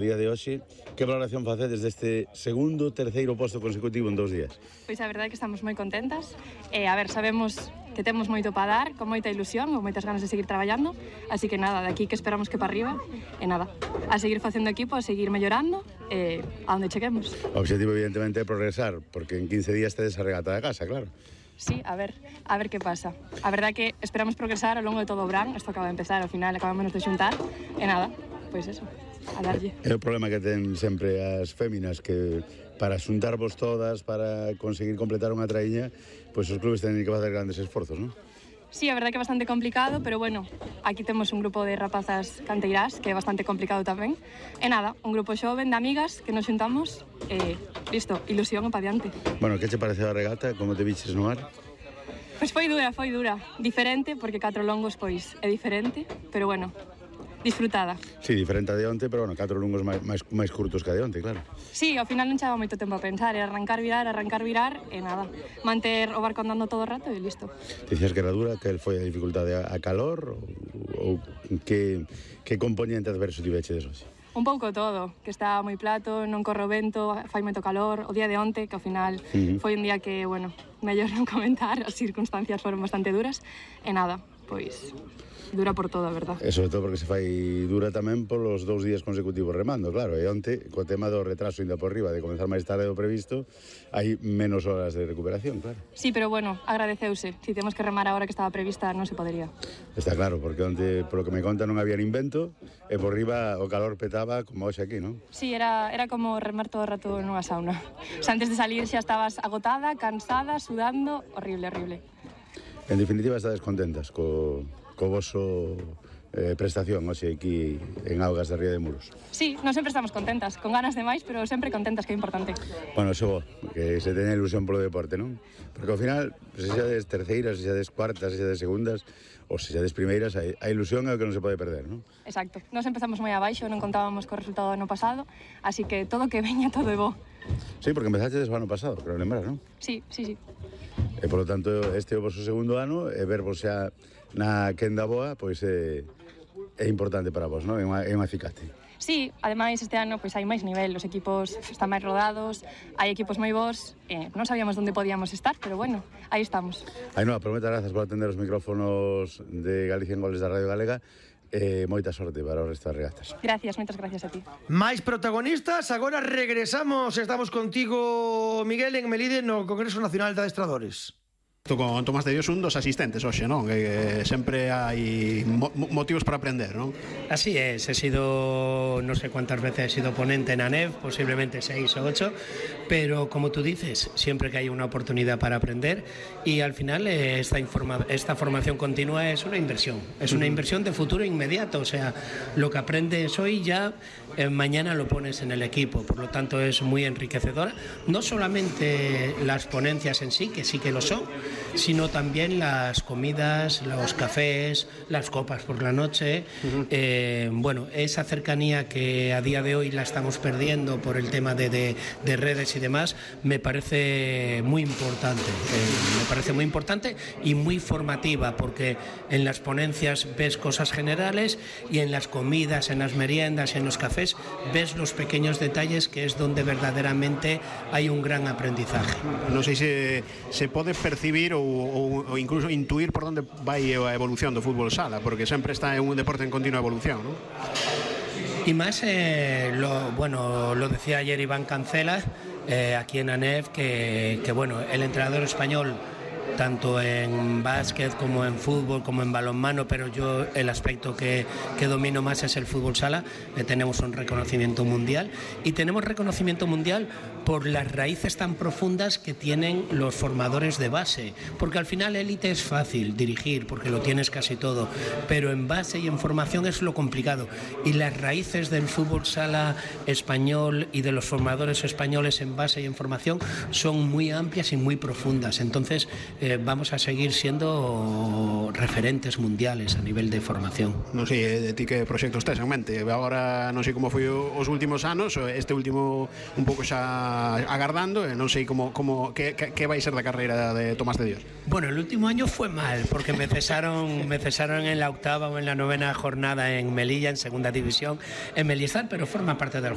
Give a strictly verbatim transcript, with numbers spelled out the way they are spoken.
Día de hoxe, que valoración facedes deste segundo, terceiro posto consecutivo en dous días? Pois a verdade é que estamos moi contentas. E, a ver, sabemos que temos moito para dar, con moita ilusión, con moitas ganas de seguir traballando, así que nada, de aquí que esperamos que para arriba, e nada, a seguir facendo equipo, a seguir mellorando, e a onde cheguemos. O objetivo, evidentemente, é progresar, porque en quince días tedes a regata de casa, claro. Sí, a ver, a ver que pasa. A verdade é que esperamos progresar ao longo de todo o verán, isto acaba de empezar, ao final acabamos de xuntar, e nada, pois eso. A darlle. É o problema que ten sempre as féminas, que para xuntarvos todas, para conseguir completar unha traíña, pois os clubes tenen que facer grandes esforzos, non? Sí, a verdade que é bastante complicado, pero bueno, aquí temos un grupo de rapazas canteirás que é bastante complicado tamén. E nada, un grupo xoven de amigas que nos xuntamos e listo, ilusión e pa diante. Bueno, que che pareceu a regata? Como te viches no mar? Pois foi dura, foi dura. Diferente, porque catro longos pois é diferente, pero bueno, disfrutada. Sí, diferente a de onte, pero bueno, catro lungos máis, máis, máis curtos que a de onte, claro. Sí, ao final non chegaba moito tempo a pensar, era arrancar, virar, arrancar, virar, e nada, manter o barco andando todo o rato e listo. Dicías que era dura, que foi a dificultade a calor, ou, ou que, que componente adverso tiveche de hoxe? Un pouco todo, que está moi plato, non corre o vento, fai moito calor, o día de onte, que ao final uh-huh. foi un día que, bueno, mellor non comentar, as circunstancias foron bastante duras, e nada, pois dura por todo, a verdad. E sobre todo porque se fai dura tamén polos dous días consecutivos remando, claro, e onte, co tema do retraso ainda por riba, de comenzar máis tarde do previsto, hai menos horas de recuperación, claro. Sí, pero bueno, agradeceuse. Si temos que remar a hora que estaba prevista, non se podería. Está claro, porque onte, polo que me conta, non había nin vento, e por riba o calor petaba como hoxe aquí, non? Sí, era, era como remar todo o rato nunha sauna. O sea, antes de salir xa estabas agotada, cansada, sudando, horrible, horrible. En definitiva, estades contentas co... co voso eh, prestación hoxe aquí en Augas de Ría de Muros. Sí, non sempre estamos contentas, con ganas de máis, pero sempre contentas, que é importante. Bueno, xo, que se teña ilusión polo deporte, non? Porque ao final, se xa des terceiras, se xa des cuartas, se xa des segundas, ou se xa des primeiras, a, a ilusión é o que non se pode perder, non? Exacto. Nos empezamos moi abaixo, non contábamos co resultado do ano pasado, así que todo que veña, todo é bo. Sí, porque empezaste desde o ano pasado, creo lembrar, non? Sí, sí, sí. E, polo tanto, este é o vosso segundo ano, e vervos xa na quenda boa, pois é, é importante para vos, non? É unha, é unha acicate. Sí, ademais este ano pois hai máis nivel, os equipos están máis rodados, hai equipos moi bons, eh, non sabíamos onde podíamos estar, pero bueno, aí estamos. Ainhoa, por moitas grazas por atender os micrófonos de Galicia en Goles da Radio Galega. Eh, moita sorte para o resto das regatas. Gracias, moitas gracias a ti. Máis protagonistas, agora regresamos, estamos contigo, Miguel, en Melide, no Congreso Nacional de Adestradores. Con Tomás de Dios, un dos asistentes hoxe, non? Que sempre hai mo motivos para aprender, non? Así es, he sido, no sé cuántas veces he sido ponente en A N E F, posiblemente seis o ocho, pero como tú dices, siempre que hay una oportunidad para aprender, y al final eh, esta, informa esta formación continua es una inversión, es una inversión de futuro inmediato, o sea, lo que aprendes hoy ya eh, mañana lo pones en el equipo, por lo tanto es muy enriquecedora, no solamente las ponencias en sí, que sí que lo son, sino también las comidas, los cafés, las copas por la noche. Uh-huh. eh, bueno, esa cercanía que a día de hoy la estamos perdiendo por el tema de, de, de redes y demás, me parece muy importante. Eh, me parece muy importante y muy formativa, porque en las ponencias ves cosas generales y en las comidas, en las meriendas, en los cafés, ves los pequeños detalles, que es donde verdaderamente hay un gran aprendizaje. Non sei se, se pode percibir ou, ou, ou incluso intuir por onde vai a evolución do fútbol sala, porque sempre está en un deporte en continua evolución, ¿no? Y más, eh, lo, bueno, lo decía ayer Iván Cancela, eh, aquí en A N E F, que, que bueno, el entrenador español, tanto en básquet como en fútbol, como en balonmano, pero yo el aspecto que, que domino más es el fútbol sala. Eh, tenemos un reconocimiento mundial, y tenemos reconocimiento mundial por las raíces tan profundas que tienen los formadores de base, porque al final élite es fácil dirigir, porque lo tienes casi todo, pero en base y en formación es lo complicado, y las raíces del fútbol sala español y de los formadores españoles en base y en formación son muy amplias y muy profundas. Entonces eh, vamos a seguir siendo referentes mundiales a nivel de formación. Non sei, de ti que proxectos tes en mente? Agora non sei como foi os últimos anos, este último un pouco xa agardando, e non sei como, como que, que, que vai ser da carreira de Tomás de Dios. Bueno, el último año fue mal, porque me cesaron, me cesaron en la octava o en la novena jornada en Melilla, en segunda división, en Melizar, pero forma parte del